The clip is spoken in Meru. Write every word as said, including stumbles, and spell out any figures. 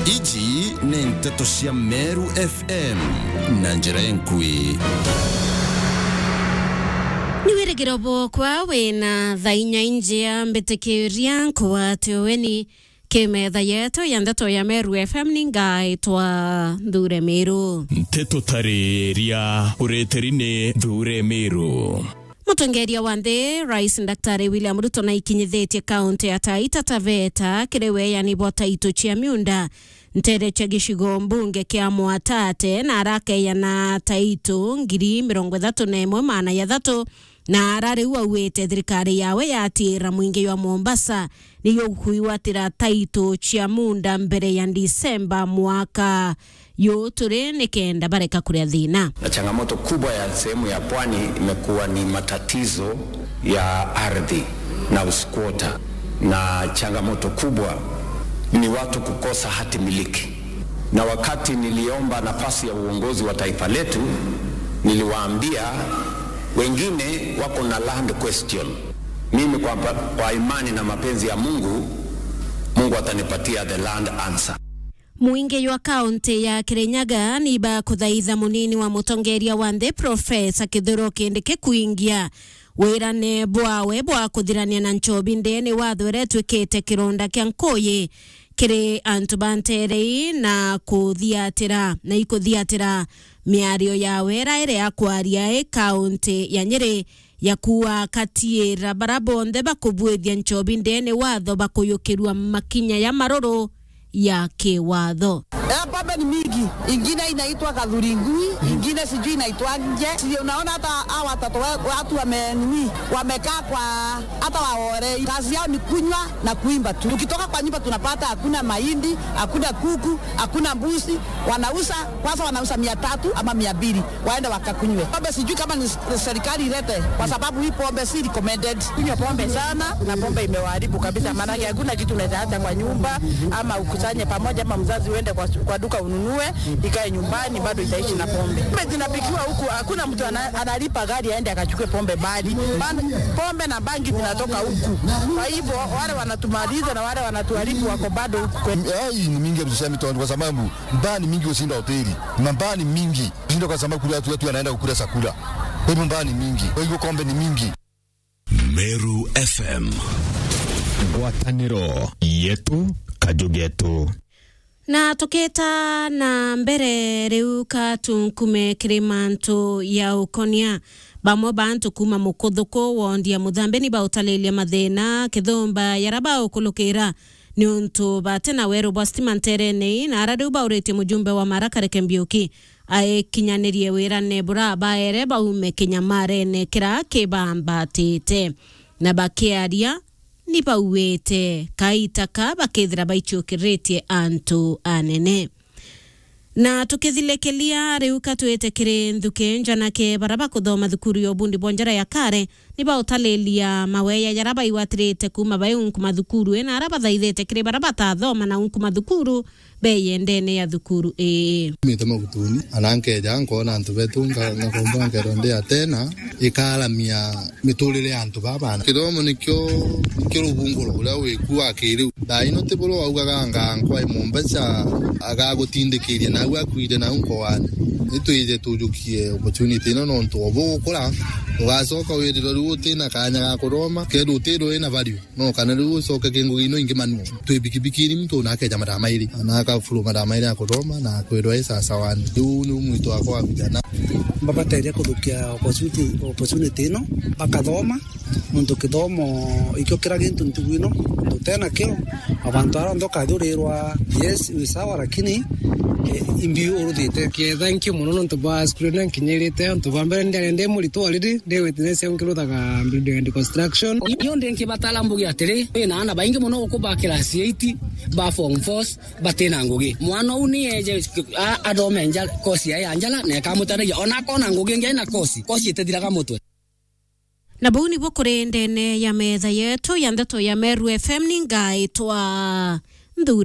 Iji ni nteto cia Meru F M na njira enkui. Ni wirigiro bwokwa wina thaa inya injia mbitikiria nkwate uweni ki metha yetu ya ndeto ya Meru F M ni ngaitwa Nthure Miru. Nteto tariria ureteri ni Nthure Miru. Mutongeria wa nthi, Rais Daktari William Ruto, naikinyithitie kaunti ya Taita Taveta kiri weeyani bwa taito cia miunda ntere cia gicigo mbunge kia Mwatate, na arakeeyana taito ngiri mirongo ithatu na imwe maana ya thatu, na ara riu auite thirikari yawe yatiira mwingi jwa Mombasa ni yukwigwatira taito cia munda mbere ya Disemba mwaka yu turi, nikenda bareka kuria thina. Na changamoto kubwa ya sehemu ya pwani imekuwa ni matatizo ya ardhi na usquatter, na changamoto kubwa ni watu kukosa hati miliki. Na wakati niliomba nafasi ya uongozi wa taifa letu, niliwaambia wengine wako na land question. Mimi kwa, kwa imani na mapenzi ya Mungu, Mungu atanipatia the land answer. Mwingi jwa kaunti ya Kirinyaga ni bakuthaitha munini wa mutongeria wa nthi, Profesa Kithure Kindiki, kuingia wirane bwawe bwa kuthirania na nchobi ndene watho iria itwikite kironda kia nkuyi kiri antu ba ntere ii na kuthiatira, na ikuthiatira miario yawe ira iri ya kwaria i kaunti ya Nyeri ya kuakatiira bara bonthe bakubuithia nchobi ndene watho bakuyukirua makinya ya maruru ya kiwatho. Eh, pombe ni mingi. Ingine inaitwa Kathuri Ngui, ingine sijui inaitwaje. Si unaona hata hawa watoto wa-, watu wame-, nini, wamekaa kwa, hata waore. Kazi yao ni kunywa na kuimba tu. Tukitoka kwa nyumba tunapata hakuna mahindi, hakuna kuku, hakuna mbuzi. Wanauza, kwanza wanauza mia tatu ama mia mbili. Waende wakakunywe. Pombe sijui kama ni s-, serikali ilete, kwa sababu hii pombe si recommended. Kunywa pombe sana, na pombe imewaharibu kabisa, maanake hakuna kitu unaweza acha kwa nyumba, ama ukusanye pamoja, ama mzazi uende kwa, kwa duka ununue, ikae nyumbani, bado itaishi na pombe. Pombe zinapikiwa huku, hakuna mtu ana-, analipa gari aende akachukue pombe mbali. Ban-, pombe na bangi zinatoka huku. Kwa hivyo, wale wanatumaliza na wale wanatuharibu wako bado huku kwetu. Ai, ni mingi ya kusema, kwa sababu mbaa ni mingi kushinda hoteli. Na mbaa ni mingi. Kushinda kwa sababu kule watu wetu wanaenda kukula chakula. Kwa hivyo mbaa ni mingi. Kwa hivyo pombe ni mingi. Meru F M. Ngwataniro yetu, kaju getu. Na tukita na mbere riu, ka tunkume kiri mantu ya ukonia. Bamwe ba antu kuuma Mukuthuku wondi ya Muthambi ni bautalilia mathina kithumba yara baukulukira niuntu bati na weru bwa stima nterene ii, na ara riu bauritie mujumbe wa Mara Kareke Mbiuki aikinyanirie wirane bura baere baume kinyamarene kira kibambatite, na bakiaria ni bauite kaita ka bakethira baicukiritie antu anene. Na tukithilikilia riu, ka twite kiri nthuki njanake, bara bakuthoma thukuru ya ubundi bwa njara ya kare ni bautalilia maweya jara baigwatirite kuuma bai unku mathukuru, na ara bathaithite kiri bara batathoma na unku mathukuru beye ndene ya thukuru ii. Mite magutuni, ana nkeja nkona antu betu nga-, ngakomba nkero ndi Atena, ikaramia miturire ya antu baba. Kithomo nikio, nikio rubunguro uria wiku wa kiriu. Thaa ino ti buru waugaga anga nkwa i Mombasa agagutindikiria nau akuire nau nkoani. Itwije tujukie opportunity ino nontu obu gukura, ugacoka wirirwe riu utina kanya ga kuthoma, kethira utirwe wina value. No kana riu ucoke ki ngugi ino ingi manual. Twi bikibikini muntu na akeja mathaa mairi, na akafuru mathaa mairi ya kuthoma na akwirwa e sawa sawa. Riu ni mwito wakwa wa vijana. Babateria kuthukia opportunity, opportunity ino, bakathoma, nontu kithomo ikio kira gintu ntugu ino, nontu utena kio, abantu aria onthe ukathurirwa, yes, wi sawa, lakini, eh, imbi uruthite. Ke, thank you mono nontu bwa cukuru ino nkinyirite, nontu bwa mbere ndiari ndi muritu already, ndi witness au nkiruthaga building and construction. Iyo ndi nkibatara mbuge atiri, wina aana baingi mono guku ba class eight, ba form fours, batina ngugi. Mwana uu ni eje a-, athome nja, course ya, ya njara, na ikamutethia. Ona akona ngugi ingi aina course, course itithiraga mutwe. Na buu nibuo kuri ndene ya metha yetu ya ndeto ya Meru F M, ni ngaitwa Nthure